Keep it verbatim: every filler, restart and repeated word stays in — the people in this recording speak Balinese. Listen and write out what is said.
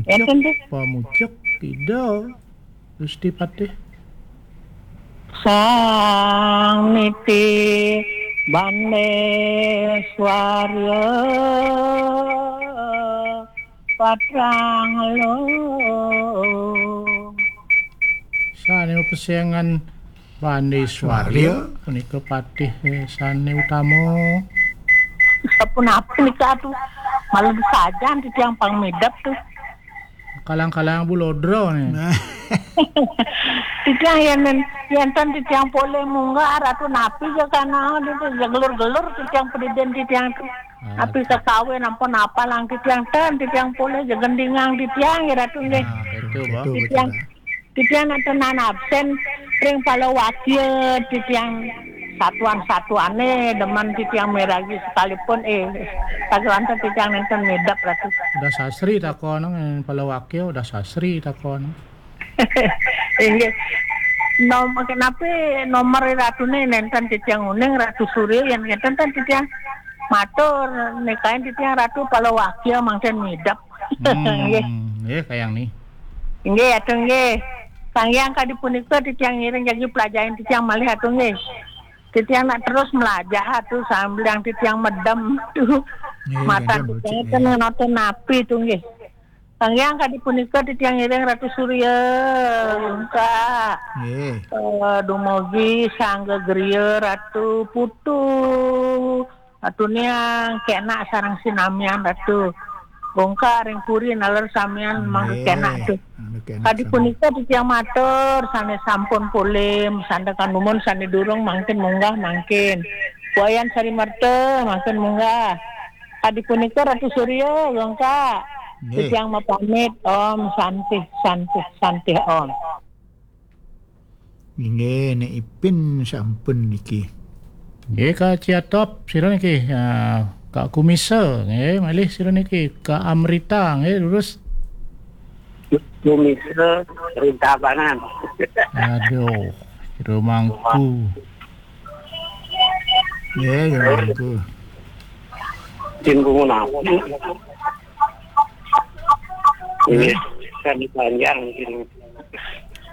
Ya, Mucuk, tentu. Pamucuk, Ida Gusti Patih. Sang niti bande swarya patrang lo. Sane pesengan bande swarya, swarya, punika patih, eh, sane utama. Sapunapi nika tu? Malah disajan titiang pang midep tu. Kalang-kalang bulodra ne. Nah. Titiang yen, yen ten titiang polih munggah, Ratu, napi ja kana, ditu ja gelur-gelur titiang padidin titiang tu. Ah, napi kakawin ampun apalang titiang ten, titiang polih ja gendingang titiang, ya, Ratu, nggih. Nah, betul, Bah. Betul, titiang, betul, Bah. Titiang nenten absen ring palawakya titiang satuan-satuane demen titiang miragi sekalipun, eh, sawanten titiang nenten midep, Ratu. Udah sasri takon, eh, palawakya, udah sasri takon. Inggih. Nom-, kenapi nomor Ratune nenten titiang uning, Ratu Surya, yen nenten ten titiang matur, nikain titiang Ratu palawakya mangkin midep. Hmm, nggih. Nggih, kayang ni. Inggih, Ratu, nggih. Sang Hyang kadi punika titiang ngiring jagi pelajahin titiang malih, Ratu, nggih. Titiang nak terus melajah, Ratu, sambil yang titiang medem tu. Nggih, matan nggih, titiang nggih. Ten nonton napi tu, nggih. Sang Hyang kadi punika titiang ngiring Ratu Surya, Kak. Nggih. Eh, dumogi Sangga Gria, Ratu Putu. Ratu niang kenak sareng sinamian, Ratu. Bongkar ring puri naler samian. Nggih. Mangga kenak tu. Mangga kenak. Kadi sami. Punika titiang matur, sane sampun polih, sandekan dumun, sane durung mangkin munggah mangkin. Wayan Sari Merta mangkin munggah. Kadi punika Ratu Surya, Gongka. Nggih. Titiang mapamit, Om Santih, Santih, Santih, Om. Inggih, Nek Ipin sampun niki. Nggih, Kak Ciatop, sira niki, ah, Kak Kumisa, nggih, malih sira niki, Kak Amrita, nggih, lurus. Kumisa, Rintabanan. Aduh, sira mangku. Nggih, sira mangku. Tim Gunung Api. Nggih. Nggih, kami panjang, tim